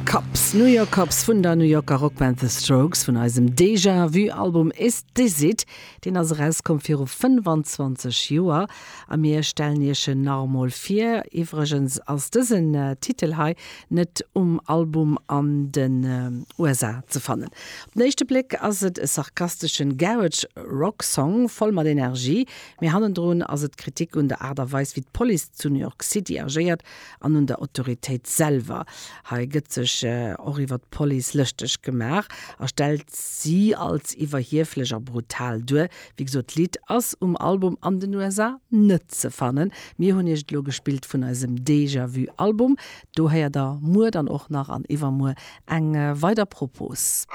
Cops, New York Cops vun der New Yorker Rockband The Strokes vun eisem Déjà Vu Album Is This It? Deen ass erauskomm viru 25 Joer a mir stellen iech en nach emol vir. Iwwregens ass dësen Titel hei net um Album an den USA ze fannen. Op den éischte Bléck ass et e sarkasteschen Garage Rock Song voll mat Energie, mee hannendrun ass et Kritik un der Aart a Weis wéi d'Police zu New York City agéiert an un der Autoritéit selwer. Hei gëtt sech och iwwer d'Police lëschteg gemaach a stellt si als iwwerhieflech a brutal duer. Wéi gesot, d'Lidd ass um Album an den USA net ze fannen. Mir hunn iech et elo gespillt vun eisem Déjà Vu Album. Do héiert der muer dann och nach an iwwermuer eng weider Propos.